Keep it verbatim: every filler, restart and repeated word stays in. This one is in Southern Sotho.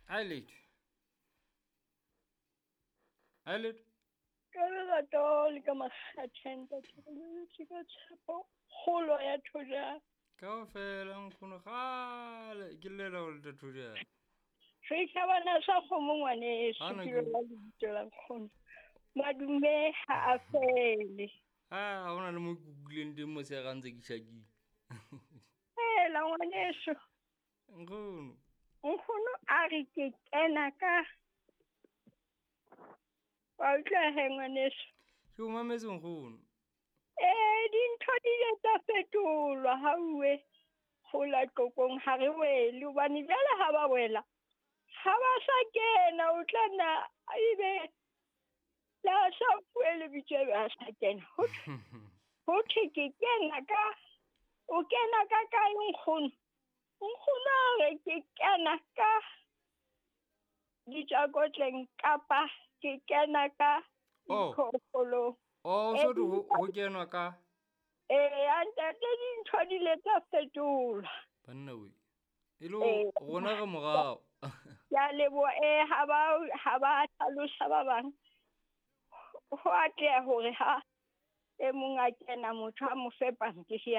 A letho. A letho. Ka lerato le ka makgethe ntate re boletse ka tshepo kgolo ya Thojane. Kaofela nkgono kgale ke llela ho leta Thojane. Setjhabana sa kgomo ngwaneso Hana ke ke- lona lebitso la nkgono. Madume ha a fele. Ah, ha hona le mo ke utlwileng teng motshehare ha ntse ke tjhakile. Hela ngwaneso. Nkgono. Nkgono a re ke kena ka wa utlwa he ngwaneso. Ke o mametse nkgono. Ee, dintho di ile tsa fetolwa ha uwe hola Tlokong ha re wele hobane jwale ha ba wela ha ba sa kena o tla nna ebe le ha sa fuwe lebitso ebe ha sa kena. Ho thwe ho thwe ke kena ka o kena ka kae nkgono? Nkgono a re ke kena ka ditjakotleng kapa ke kena ka Oh. diphoofolong. Oh, Eh, so ho ho kenwa ka Ee, ntate dintho di ile tsa fetolwa. banna we. E le Ee. rona re morao. Ke a leboha ee ha ba ha ba hlalosa ba bang. Ho atleha hore ha e mong a kena motho a mo fe pampiri ya